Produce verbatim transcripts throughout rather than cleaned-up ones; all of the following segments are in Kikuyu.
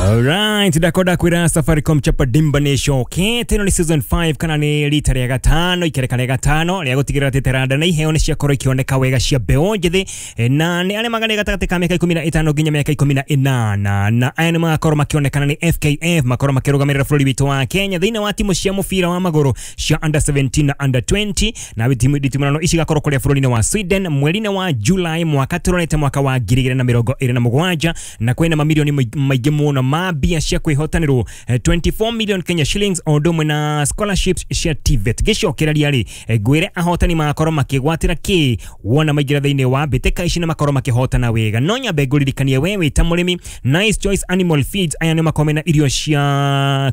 Alright, ndakonda kwira Safaricom Chapa Dimba nĩcokete. Ĩno nĩ season five kana nĩ rita rĩa gatano, ikereka rĩa gatano rĩa gũtigĩrĩra atĩ taranda na iheo nĩ ciakorwo ikĩoneka wega cia mbeũ njĩthĩ, eh, na nĩ arĩa magana gatagatĩ ka mĩaka ikũmi na ĩtano nginya mĩaka ikũmi na ĩnana, na aya nĩ magakorwo makĩonekana nĩ F K F, makorwo makĩrũgamĩrĩra bũrũri witũ wa Kenya thĩinĩ wa timu cia mũbira wa magũrũ cia under seventeen na under twenty, na timu nditimũrano ici igakorwo kũrĩa bũrũri-inĩ wa Sweden mweri-inĩ wa July mwaka tũrorete, mwaka wa ngiri igĩrĩ na mĩrongo ĩrĩ na mũgwanja, na kwĩna mamirioni maingĩ mũno ma mbia cia kwĩhotanĩrwo, eh, twenty-four million Kenya shillings, o ũndũ ũmwe na scholarships cia T V E T. Gĩcokereria rĩ, eh, ngwĩre ahotani magakorwo makĩgwatĩra kĩ wona maingĩra thĩinĩ wa mbĩtĩka ici na makorwo makĩhotana wega. No nyambe ngũririkanie we wĩ ta mũrĩmi, Nice Choice Animal Feeds, aya nĩ makorwo mena irio cia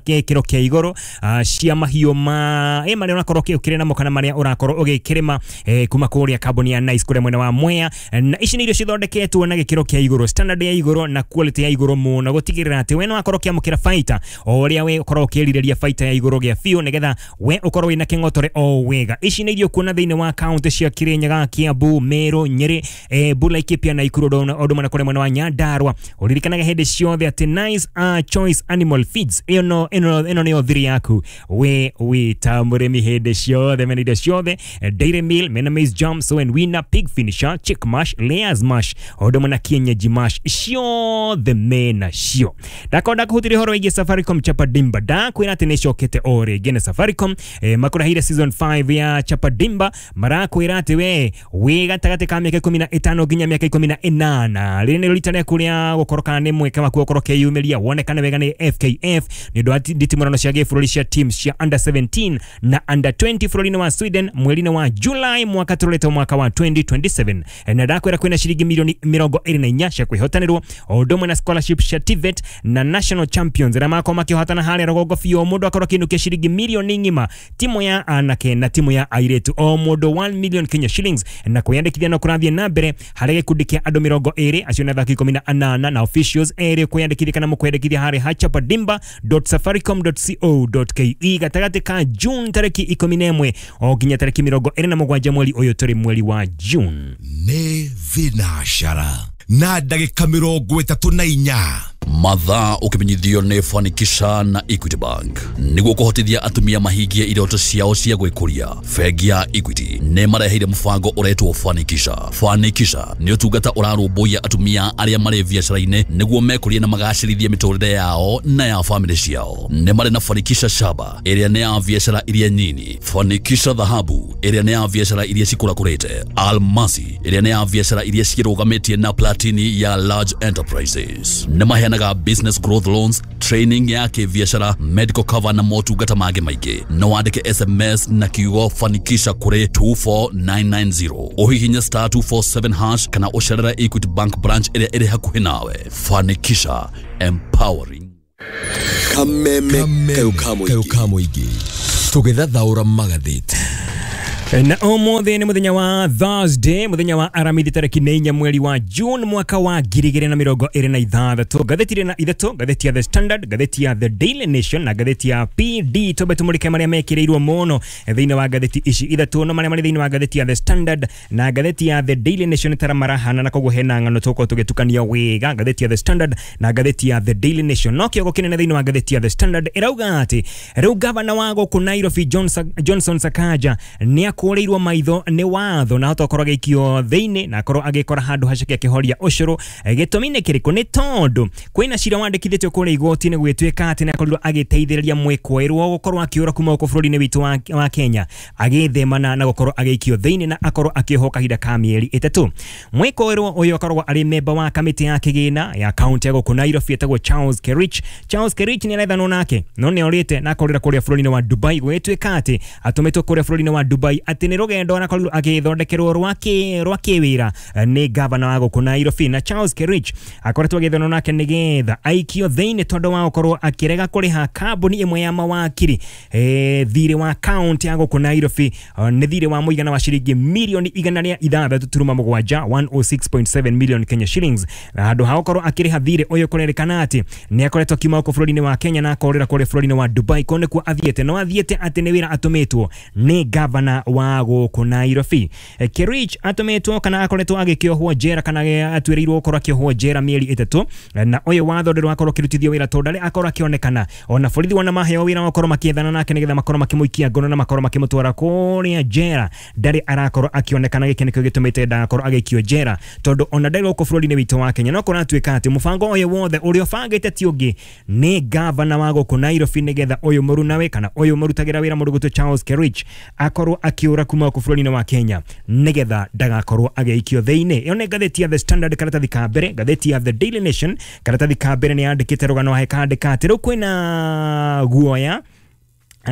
gĩkĩro kĩa igũrũ, ah, cia mahiũ ma ĩ marĩa ũrakorwo ũkĩrĩ namo kana marĩa ũrakorwo ũgĩkĩrĩma, eh, kuma kũrĩa kambuni ya Nice kũrĩa mwena wa Mwea. Na ici nĩ irio cithondeketwo na gĩkĩro kĩa igũrũ, standard ya igũrũ na quality ya igũrũ mũno, gũtigĩrĩra atĩ we no wakorwo ũkĩamũkĩra baita o ũrĩa we ũkorwo ũkĩrirĩria, baita ya igũrũ gĩa biũ, nĩgetha we ũkorwo wĩna kĩng'otore o wega. Ici nĩ irio kuona thĩinĩ wa kaunti cia Kirinyaga, Kiambu, Meru, Nyeri, Embu, Laikipia na Nakuru, o ũndũ ũmwe na kũrĩa mwena wa Nyandarua. Ũririkanage hĩndĩ ciothe atĩ Nice uh, Choice Animal Feeds ĩno ĩno ĩno nĩyo thiri yaku we wĩ ta mũrĩmi hĩndĩ ciothe. Mena indo ciothe, eh, dairy meal, mena maize germ, sow and winner, pig finisher, chick mash, layers mash, o ũndũ ũmwe na kienyeji mash, ciothe mena cio. Ndakonda kũhutĩria ũhoro wĩgiĩ Safaricom Chapa Dimba. Ndakwĩra atĩ nĩcokete o rĩngĩ na Safaricom, eh, makũrehire season five ya Chapa Dimba. Marakwĩra atĩ we wĩ gatagatĩ ka mĩaka ikũmi na ĩtano nginya mĩaka ikũmi na ĩnana, rĩrĩ nĩ rita rĩaku rĩa gũkorwo kana nĩ mweke waku gũkorwo ũkĩyumĩria wonekane wega nĩ F K F nĩ ũndũ wa nditimũrano cia gĩbũrũri cia teams cia under seventeen na under twenty bũrũri-inĩ wa Sweden mweri-inĩ wa July mwaka tũrorete, mwaka wa twenty twenty-seven. Na ndakwĩra kwĩna ciringi milioni mĩrongo ĩrĩ na inya cia kwĩhotanĩrwo, o ũndũ ũmwe na scholarship cia T V E T, na national champions arĩa makorwo makĩhotana harĩa rũgongo biũ, mũndũ akorwo akĩinũkia ciringi milioni ng'ima, timu ya anake na timu ya airĩtu, o mũndũ one million Kenya shillings. Na kwĩyandĩkithia no kũrathiĩ na mbere harĩ gĩkundi kĩa andũ mĩrongo ĩrĩ, acio nĩ athaki ikũmi na anana na officials erĩ. Kwĩyandĩkithia kana mũkwĩyandĩkithia harĩ hachapadimba dot safaricom dot co dot ke gatagatĩ ka June tarĩki ikũmi na ĩmwe o nginya tarĩki mĩrongo ĩrĩ na mũgwanja mweri ũyũ tũrĩ, mweri wa June. Nĩ thinacara na ndagĩka mĩrongo ĩtatũ na inya. Mathaa ũkĩmenyithio nĩ Fanikisha na Equity Bank. Nĩguo kũhotithia atumia mahingie iroto ciao cia gwĩkũria, bengi ya Equity nĩ mareheire mũbango ũretwo Fanikisha. Fanikisha nĩ ũtungata ũrarũmbũiya atumia arĩa marĩ biacara-inĩ nĩguo mekũrie na magacĩrithie mĩtũrĩre yao na ya famĩlĩ ciao. Nĩ marĩ na Fanikisha Shaba, ĩrĩa nĩ ya biacara iria nyini, Fanikisha Dhahabu, ĩrĩa nĩ ya biacara iria cikũrakũrĩte, Almasi, ĩrĩa nĩ ya biacara iria cirũgamĩtie, na Platini ya large enterprises. Nĩ maheanaga business growth loans, training ya kĩbiacara, medical cover na motungata mangĩ maingĩ. No wandĩke S M S na kiugo "Fanikisha" kũrĩ two four nine nine zero, ũhihinye star two four seven hash kana ũcerere Equity Bank branch ĩrĩa ĩrĩ hakuhĩ nawe. Fanikisha, empowering Kameme kayũ ka mũingĩ, tũgĩthathaũra magathĩti. Na ũmũthĩ nĩ mũthenya wa Thursday, mũthenya wa Aramithi, tarĩki nĩ inya mweri wa June mwaka wa ngiri igĩrĩ na mĩrongo ĩrĩ na ithathatũ. Ngathĩti ĩrĩ na ithatũ, ngathĩti ya The Standard, ngathĩti ya The Daily Nation na ngathĩti ya P D. Twambe tũmũrĩke marĩa mekĩrĩirwo mũno thĩinĩ wa ngathĩti ici ithatũ. No marĩa marĩ thĩinĩ wa ngathĩti ya The Standard na ngathĩti ya The Daily Nation tara marahana, na koguo hena ng'ano tũgũkorwo tũgĩtukania wega ngathĩti ya The Standard na ngathĩti ya The Daily Nation. No kĩongo kĩnene thĩinĩ wa ngathĩti ya The Standard ĩrauga atĩ rĩu gavana wa gũkũ Nairobi Johnson, Johnson Sakaja nĩ akũrĩirwo maitho nĩ watho na hota gũkorwo agĩikio thĩinĩ na akorwo agĩkora handũ haceke akĩhoria ũcũrũ. Eh, gĩtũmi nĩ kĩrĩkũ? Nĩ tondũ kwĩna cira wandĩkithĩtio kũrĩa igoti-inĩ, gũgĩtuĩka atĩ nĩ akorirwo agĩteithĩrĩria mwĩkũĩrwo gũkorwo akĩũra kuma gũkũ bũrũri-inĩ witũ wa, wa Kenya, agĩthemana na gũkorwo agĩikio thĩinĩ na akorwo akĩohwo kahinda ka mĩeri ĩtatũ. Mwĩkũĩrwo ũyũ akoragwo arĩ memba wa kamĩtĩ ya kĩgĩna ya kaunti ya gũkũ Nairobi etagwo Charles Kerich. Charles Kerich nĩ arethanwo nake no nĩ orĩte na akorĩra kũrĩa bũrũri-inĩ wa Dubai. Gũgĩtuĩka atĩ atũmĩtwo kũrĩa bũrũri-inĩ wa Dubai atĩ nĩ rũgendo arakorirwo agĩthondekerwo rwa kĩ rwa kĩwĩra eh, nĩ gavana wa gũkũ Nairobi, na Charles Kerich akoretwo agĩethanwo nake nĩgetha aikio thĩinĩ tondũ wa gũkorwo akĩrega kũrĩha kambuni ĩmwe ya mawakiri eh, thirĩ wa kaunti ya gũkũ Nairobi. eh, nĩ thirĩ wa mũigana wa ciringi mirioni igana rĩa ithathatũ turuma mũgwanja, one hundred six point seven million Kenya shillings. Na handũ ha gũkorwo akĩrĩha thirĩ ũyũ, kũrerĩkana atĩ nĩ akoretwo akiuma gũkũ bũrũri-inĩ wa Kenya na akorĩra kũrĩa bũrũri-inĩ wa Dubai. Kũu nĩkuo athiĩte, no athiĩte atĩ nĩ wĩra atũmĩtwo nĩ gavana wa wa gũkũ Nairobi. Kerich atũmĩtwo kana akoretwo agĩkĩohwo njera kana atuĩrĩirwo gũkorwo akĩohwo njera mĩeri ĩtatũ, na ũyũ watho ndũrĩ wakorwo ũkĩrutithio wĩra tondũ ndarĩ akorwo akĩonekana. Ona borithi wona maheo wĩra wa gũkorwo makĩethana nake nĩgetha makorwo makĩmũikia ngono na makorwo makĩmũtwara kũrĩa njera, ndarĩ arakorwo akĩonekana. Gĩkĩ nĩkĩo gĩtũmĩte ndagakorwo agĩikio njera tondũ ona ndarĩ gũkũ bũrũri-inĩ witũ wa Kenya. No kũratuĩka atĩ mũbango ũyũ wothe ũrĩa ũbangĩte ti ũngĩ nĩ gavana wa gũkũ Nairobi, nĩgetha ũyũ mũrunawe kana ũyũ mũrutagĩra wĩra mũndũ gwĩtwo Charles Kerich akorwo akĩũra kuma gũkũ bũrũri-inĩ wa Kenya nĩgetha ndagakorwo agĩikio thĩinĩ. Ĩyo nĩ ngathĩti ya The Standard karatathi ka mbere. Ngathĩti ya The Daily Nation karatathi ka mbere nĩ yandĩkĩte rũgano he kandĩka atĩ rĩu kwĩna guoya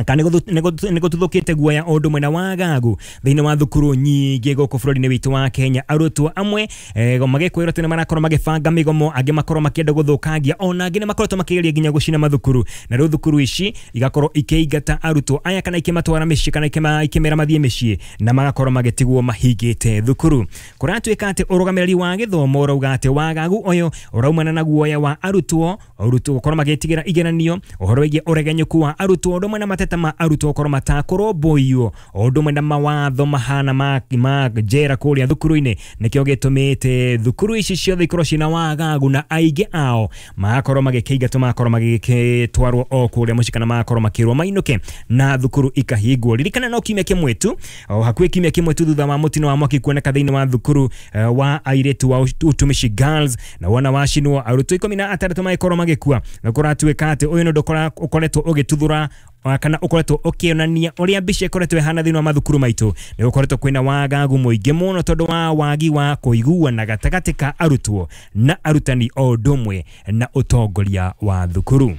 kana nĩ gũtuthũkĩte guoya o ũndũ mwena wa gagu thĩinĩ wa thukuru nyingĩ gũkũ bũrũri-inĩ witũ wa Kenya. Arutwo amwe magĩkwĩrwo atĩ nĩ marakorwo magĩbanga mĩgomo, angĩ makorwo makĩenda gũthũkangia, ona angĩ nĩ makoretwo makĩgeria nginya gũcina mathukuru, na rĩu thukuru ici igakorwo ikĩingata arutwo aya kana ikĩmatwara mĩciĩ kana ikĩmera mathiĩ mĩciĩ na magakorwo magĩtigwo mahingĩte thukuru. Kũratuĩka atĩ ũrũgamĩrĩri wa gĩthomo ũrauga atĩ wagagu ũyũ ũraumana na guoya wa arutwo, arutwo gũkorwo magĩtigĩra igeranio, ũhoro wĩgiĩ ũregenyũku wa arutwo, ũndũ ũmwe na mateta ma arutwo gũkorwo matakũrũmbũiywo, o ũndũ ũmwe na mawatho mahana ma ma njera kũrĩa thukuru-inĩ nĩkĩo gĩtũmĩte thukuru ici ciothe ikorwo ciĩna wagagu na aingĩ ao magakorwo magĩkĩingatwo, magakorwo magĩtwarwo o kũrĩa mũciĩ kana magakorwo makĩrwo mainũke na thukuru ikahingwo. Ririkana no kiumia kĩmwe tu, o hakuhĩ kiumia kĩmwe tu thutha wa mũtino wa mwaki kuoneka thĩinĩ wa thukuru wa airĩtu wa Utumishi Girls na wona wacinwo arutwo ikũmi na atandatũ magĩkorwo magĩkua, na kũratuĩka atĩ ũyũ nĩ ũndũ ũkoretwo ũgĩtuthũra kana ũkoretwo ũkĩonania ũrĩa mbica ĩkoretwo ĩhana thĩinĩ wa mathukuru maitũ. Nĩ gũkoretwo kwĩna wagagu mũingĩ mũno tondũ wa wagi wa kũiguana gatagatĩ ka arutwo na arutani o ũndũ ũmwe na ũtongoria wa thukuru.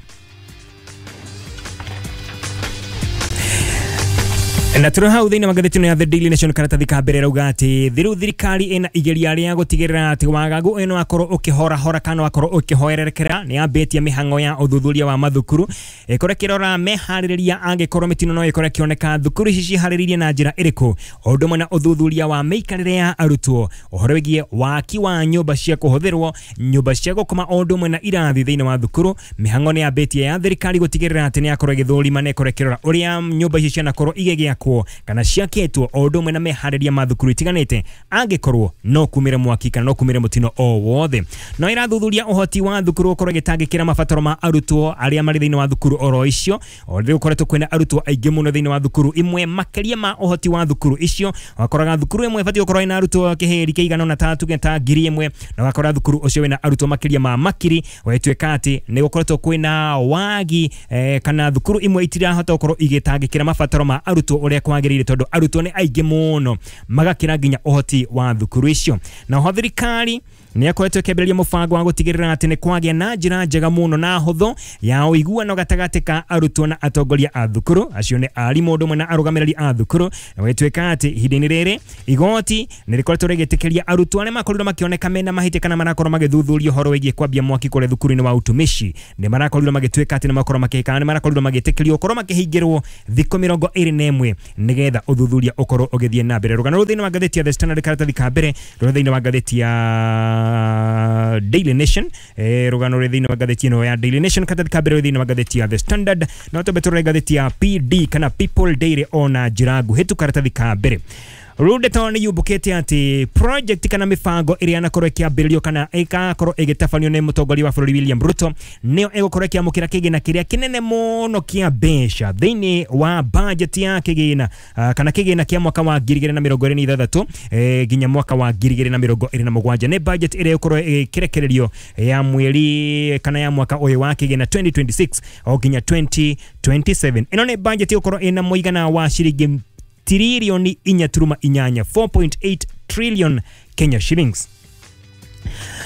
Na tũrĩ hau thĩinĩ wa ngathĩti ĩno ya The Daily Nation karatathi ka mbere rauga atĩ rĩu thirikari ĩna igeria rĩa gũtigĩrĩra atĩ wagagu ũyũ nĩwakorwo ũkĩhorahora kana wakorwo ũkĩhoererekera. Nĩ yambĩtie mĩhang'o ya ũthuthuria wa mathukuru ĩkorwo ĩkĩrora meharĩrĩria angĩkorwo mĩtino no ĩkorwo ĩkĩoneka thukuru ici ciharĩrĩirie na njĩra ĩrĩkũ, o ũndũ ũmwe na ũthuthuria wa mĩikarĩre ya arutwo, ũhoro wĩgiĩ waki wa nyũmba cia kũhũthĩrwo, nyũmba cia gũkoma, o ũndũ ũmwe na irathi thĩinĩ wa thukuru. Mĩhang'o nĩ yambĩtie ya thirikari gũtigĩrĩra atĩ nĩ yakorwo ĩgĩthũrima na ĩkorwo ĩkĩrora ũrĩa nyũmba ici cianakorwo igĩgĩakwo kana ciakĩtwo, o ũndũ ũmwe na meharĩria ma thukuru itiganĩte angĩkorwo no kumĩre mwaki kana no kumĩre mũtino o wothe. No ĩrathuthuria ũhoti wa thukuru gũkorwo ĩgĩtangĩkĩra mabataro ma arutwo arĩa marĩ thĩinĩ wa thukuru oro icio. O rĩu gũkoretwo kwĩna arutwo aingĩ mũno thĩinĩ wa thukuru imwe makĩria ma ũhoti wa thukuru icio. Wakoraga thukuru ĩmwe ĩbatiĩ gũkorwo ĩna arutwo kĩhĩri kĩigana ũna ta tuge ta ngiri ĩmwe, na ũgakora thukuru ũcio wĩna arutwo makĩria ma makiri. Gwatuĩka atĩ nĩ gũkoretwo kwĩna wagi eh, kana thukuru imwe itirahota gũkorwo igĩtangĩkĩra mabataro ma arutwo ũrĩa kwagĩrĩire tondũ arutwo nĩ aingĩ mũno magakĩra nginya ũhoti wa thukuru icio. Na ho thirikari nĩ akoretwo ĩkĩambĩrĩria mũbango wa gũtigĩrĩra atĩ nĩ kwagĩa na njĩra njega mũno na hũthũ ya ũiguano gatagatĩ ka arutwo na atongoria a thukuru, acio nĩ arimũ ũndũ ũmwe na arũgamĩrĩri a thukuru. Na gwĩtuĩka atĩ ihinda-inĩ rĩrĩ igoti nĩ rĩkoretwo rĩgĩtĩkĩria arutwo arĩa makorirwo makĩoneka mena mahĩtia kana marakorwo magĩthuthuria ũhoro wĩgiĩ kwambia mwaki kũrĩa thukuru-inĩ wa Utumishi, nĩ marakorirwo magĩtuĩka atĩ nĩ makorwo makĩhĩka, nĩ marakorirwo magĩtĩkĩrio gũkorwo makĩhingĩrwo thikũ mĩrongo ĩrĩ na ĩmwe nĩgetha ũthuthuria ũkorwo ũgĩthiĩ na mbere. Rũgano rũu thĩinĩ wa ngathĩti ya The Standard karatathi ka mbere, rũrĩ thĩinĩ wa ngathĩti ya Daily Nation, eh, rũgano rũrĩ thĩinĩ wa ngathĩti ĩno ya Daily Nation karatathi ka mbere rũrĩ thĩinĩ wa ngathĩti ya The Standard. No twambe tũrore ngathĩti ya P D kana People Daily ona njĩra nguhĩ tu karatathi ka mbere. Rũndeto nĩ yumbũkĩte atĩ project kana mĩbango ĩrĩa yanakorwo ĩkĩambĩrĩrio kana ĩgakorwo ĩgĩtabanio nĩ mũtongoria wa bũrũri William Ruto nĩyo ĩgũkorwo ĩkĩamũkĩra kĩgĩna kĩrĩa kĩnene mũno kĩa mbeca thĩinĩ wa budget ya kĩgĩna kana kĩgĩna kĩa mwaka wa ngiri igĩrĩ na mĩrongo ĩrĩ na ithathatũ nginya mwaka wa ngiri igĩrĩ na mĩrongo ĩrĩ na mũgwanja. Nĩ budget ĩrĩa ĩgũkorwo ĩkĩrekererio ya mweri kana ya mwaka ũyũ wa kĩgĩna twenty twenty-six o nginya twenty twenty-seven. Ĩno nĩ budget ĩgũkorwo ĩna mũigana wa ciringi tiririoni inya turuma inyanya, four point eight trillion Kenya shillings.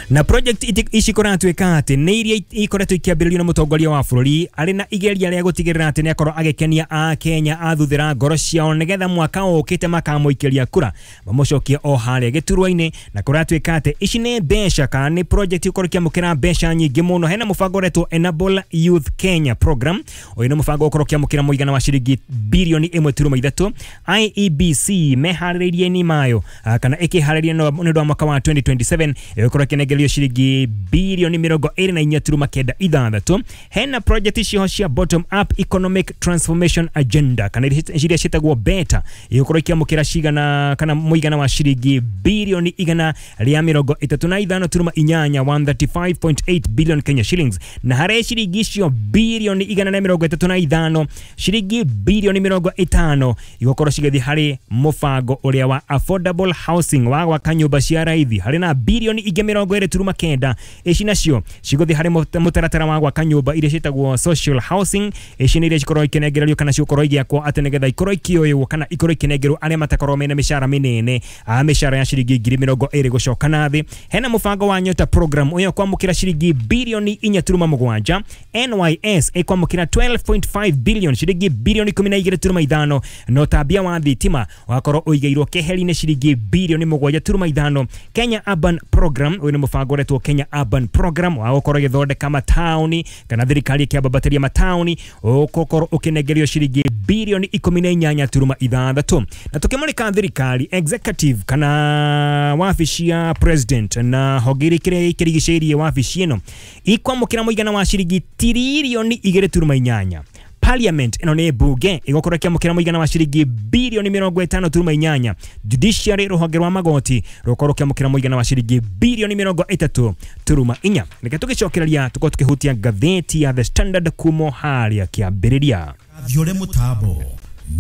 Na project ici kũratuĩka atĩ nĩ iria ikoretwo ikĩambĩrĩrio nĩ mũtongoria wa bũrũri arĩ na igeria rĩa gũtigĩrĩra atĩ nĩakorwo agĩkenia Akenya athuthĩra ngoro ciao nĩgetha mwaka ũkĩte makamũikĩria kura mamũcokie o harĩa gĩturwa-inĩ. Na kũratuĩka atĩ ici nĩ mbeca kana nĩ project ikorwo ikĩamũkĩra mbeca nyingĩ mũno. Hena mũbango ũretwo Enable Youth Kenya Program, ũyũ nĩ mũbango ũkorwo ũkĩamũkĩra mũigana wa ciringi birioni ĩmwe turuma ithatũ. I E B C meharĩrĩirie-inĩ mayo kana ĩkĩharĩria nĩ ũndũ wa mwaka wa twenty twenty-seven ĩgũkorwo ĩkĩnengera ĩkũnengerio ciringi bilioni mĩrongo ĩrĩ na inya turuma kenda ithathatũ. Hena project icio cia bottom up economic transformation agenda kana iria ciĩtagwo beta igũkorwo ikĩamũkĩra cigana kana mũigana wa ciringi bilioni igana rĩa mĩrongo ĩtatũ na ithano turuma inyanya one thirty-five point eight billion Kenya shillings, na harĩ ciringi icio bilioni igana na mĩrongo ĩtatũ na ithano ciringi bilioni mĩrongo ĩtano igũkorwo cigĩthiĩ harĩ mũbango ũrĩa wa affordable housing wa gwaka nyũmba cia raithi. Harĩ na bilioni ingĩ mĩrongo ĩrĩ turuma kenda ici nacio cigũthiĩ harĩ mũtaratara wa gwaka nyũmba iria ciĩtagwo social housing. Ici nĩ iria cikorwo ikĩnengererio kana cikorwo igĩakwo atĩ nĩgetha ikorwo ikĩoywo kana ikorwo ikĩnengerwo arĩa matakorwo mena mĩcara mĩnene a mĩcara ya ciringi ngiri mĩrongo ĩrĩ gũcoka na thĩ. Hena mũbango wa Nyota program ũyũ kwamũkĩra ciringi bilioni inya turuma mũgwanja. N Y S ĩkwamũkĩra twelve point five billion ciringi bilioni ikũmi na igĩrĩ turuma ithano, na ũtambia wa thitima wakorwo ũigĩirwo keheri-inĩ ciringi bilioni mũgwanja turuma ithano. Kenya Urban Program ũyũ nĩ mũbango ũretwo Kenya Urban Program wa gũkorwo ĩgĩthondeka mataũni kana thirikari ĩkĩambatĩria mataũni ũgũkorwo ũkĩnengerio ciringi bilioni ikũmi na inyanya turuma ithathatũ. Na tũkĩmũrĩka thirikari executive kana wabici ya president na honge iria ikĩrigicĩirie wabici ĩno ikwamũkĩra mũigana wa ciringi tiririoni igĩrĩ turuma inyanya. Parliament ĩno nĩ mbunge ĩgũkorwo ĩkĩamũkĩra mũigana wa ciringi bilioni mĩrongo ĩtano turuma inyanya. Judiciary rũhonge rwa magoti rũkorwo rũkĩamũkĩra mũigana wa ciringi bilioni mĩrongo ĩtatũ turuma inya. Reke tũgĩcokereria tũkorwo tũkĩhutia ngathĩti ya The Standard kumo harĩa kĩambĩrĩria. Thiore mũtambo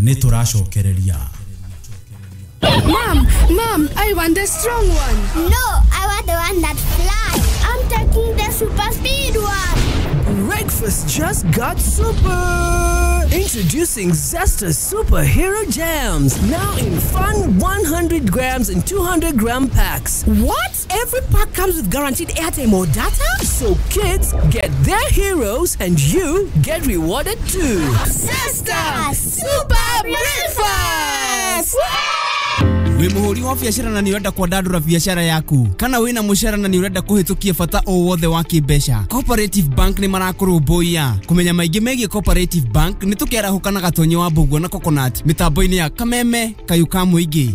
nĩ tũracokereria. Mom, Mom, I want the strong one. No, I want the one that flies. I'm taking the super speed one. Breakfast just got super! Introducing Zesta Superhero Jams, now in fun one hundred grams and two hundred gram packs. What? Every pack comes with guaranteed airtime or data? So kids get their heroes and you get rewarded too. Zesta Super Breakfast! Wĩ mũhũri wa biacara na nĩ ũrenda kwandandũra biacara yaku kana wĩna mũcara na nĩ ũrenda kũhĩtũkia bata o wothe wa kĩmbeca, Cooperative Bank nĩ marakũrũmbũiya. Kũmenya maingĩ megiĩ Cooperative Bank nĩ tũkĩarahũka na Gatonyi wa Mbũguo na Coconut mĩtambo-inĩ ya Kameme Kayũ ka Mũingĩ.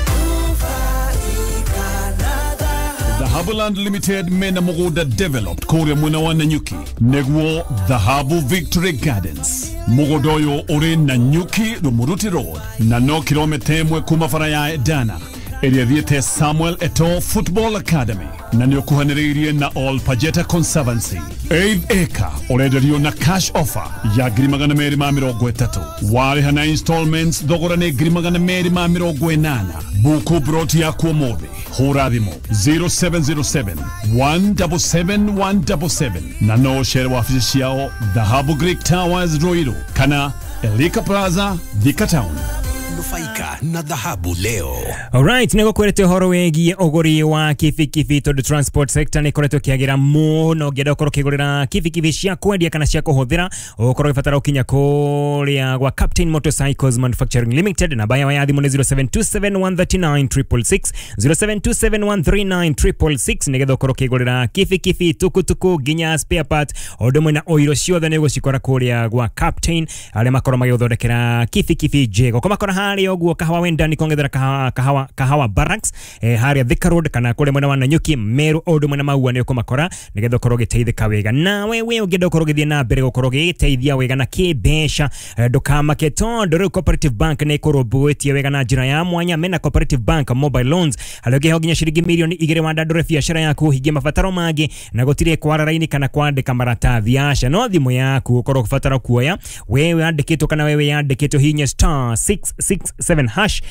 Dhahabu Limited mena mũgũnda developed kũrĩa mwena wa Nanyuki nĩguo Dhahabu Victory Gardens. Mũgũnda ũyũ ũrĩ Nanyuki Rumuruti Road na no kilomita ĩmwe kuma bara ya Edana ĩrĩa ĩthiĩte Samuel Eto'o Football Academy na nĩ ũkuhanĩrĩirie na All Pajeta Conservancy. Eighth acre ũrenderio na cash offer ya ngiri magana merĩ ma mĩrongo ĩtatũ. Warĩha na installments thogora nĩ ngiri magana merĩ ma mĩrongo ĩnana. Buku broti yaku ũmũthĩ hũra thimũ zero seven zero seven one seven seven one seven seven na no ũcere wabici ciao Dhahabu Greek Towers Ruiru kana Elika Plaza Thika Town. Nufaika na dhahabu leo. Alright, nĩ gũkwĩrĩte ũhoro wĩgiĩ ũgũri wa kibikibi tondũ transport sector nĩ ĩkoretwo ĩkĩagĩra mũno. Ũngĩenda ũkorwo ũkĩgũrĩra kibikibi cia kwendia kana cia kũhũthĩra ũkorwo ũgĩbatara ũkinya kũrĩa gwa Captain Motorcycles Manufacturing Limited. Namba yao ya thimũ nĩ zero seven two seven one three nine triple six zero seven two seven one three nine triple six nĩgetha ũkorwo ũkĩgũrĩra kibikibi tukutuku nginya spare part o ũndũ ũmwe na oiro ciothe nĩ ũgũcikora kũrĩa gwa Captain arĩa makorwo magĩgũthondekera kibikibi njega. Ũkũmakora harĩa ũguo Kahawa Wendani kongethera kahawa, kahawa, kahawa Barracks eh, harĩa Thika Road kana kũrĩa mwena wa Nanyuki Meru o ũndũ ũmwe na Maua nĩ ũkũmakora nĩgetha ũkorwo ũgĩteithĩka wega. Nawe we ũngĩenda ũkorwo ũgĩthiĩ na mbere gũkorwo ũgĩteithia wega na kĩmbeca eh, ndũkamake tondũ rĩu Cooperative Bank nĩ ĩkũrũmbũĩtie wega na njĩra ya mwanya. Mena Cooperative Bank mobile loans harĩa ũngĩheo nginya ciringi mirioni igĩrĩ wandandũre biacara yaku ũhingie mabataro mangĩ na gũtirĩ kwara raini kana kwandĩka maratathi aca no thimũ yaku ũkorwo ũgĩbatara kuoya wewe yandĩkĩtwo kana wewe yandĩkĩtwo hinya star six six seven hash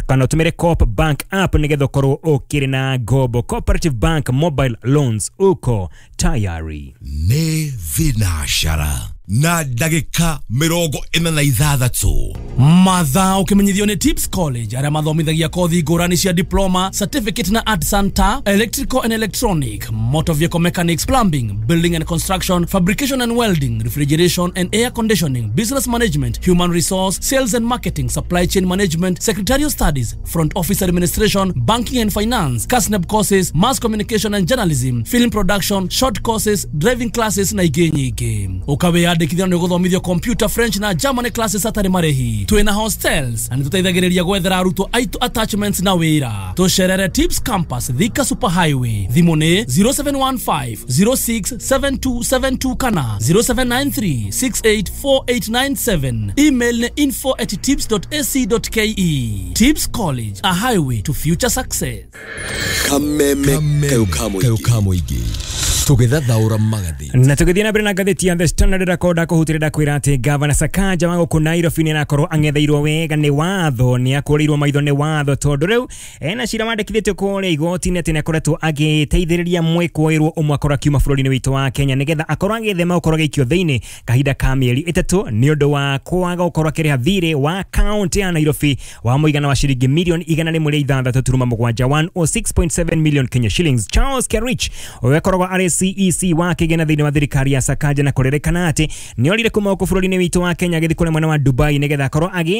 kana ũtũmĩre Coop Bank app nĩgetha ũkorwo ũkĩrĩ na ngombo. Cooperative Bank mobile loans uko tayari. Nĩ thinacara na ndagĩka mĩrongo ĩna na ithathatũ. Mathaa ũkĩmenyithio nĩ Tips College arĩa mathomithagia kothi ngũrani cia diploma, certificate na art center, electrical and electronic, motor vehicle mechanics, plumbing, building and construction, fabrication and welding, refrigeration and air conditioning, business management, human resource, sales and marketing, supply chain management, secretarial studies, front office administration, banking and finance, KASNEB courses, mass communication and journalism, film production, short courses, driving classes na ingĩ nyingĩ. Ũkawĩyandĩkithia Weyandĩkithia na nĩũgũthomithio computer, French na German classes hatarĩ marĩhi. Twĩna hostels na nĩtũteithagĩrĩria gwethera arutwo aitũ attachments na wĩra. Tũcerere Tips Campus, Thika Super Highway. Thimũ nĩ zero seven one five zero six seven two seven two kana zero seven nine three six eight four eight nine seven. Email nĩ info at tips dot a c dot k e. Tips College, a highway to future success. Kameme kayo kamuigi tugithathaura magathĩ. Na tugithie na mbere na ngathĩti ya The Standard ĩrakonda kũhutĩrĩra kwĩra atĩ Gavana Sakaja wa gũkũ Nairobi nĩarakorwo ang'etheirwo wega nĩ watho, nĩakũrĩirwo maitho nĩ watho tondũ rĩu ena cira wandĩkithĩtio kũrĩa igoti-inĩ atĩ nĩakoretwo agĩteithĩrĩria mwĩkũĩrwo ũmwe akorwo akiuma bũrũri-inĩ witũ wa Kenya nĩgetha akorwo agĩthema gũkorwo agĩikio thĩinĩ kahinda ka mĩeri ĩtatũ nĩ ũndũ wa kwaga gũkorwo akĩrĩha thirĩ wa kaunti ya Nairobi wa mũigana wa ciringi mirioni igana rĩmwe rĩa ithathatũ turuma mũgwanja one oh six point seven million Kenya shillings. Charles Kerich ũrĩa akoragwo arĩ C E C wa kĩgĩna thĩinĩ wa thirikari ya Sakaja na kũrĩrĩkana atĩ nĩorire kuma gũkũ bũrũri-inĩ witũ wa Kenya agĩthiĩ kũrĩa mwena wa Dubai nĩgetha akorwo agĩ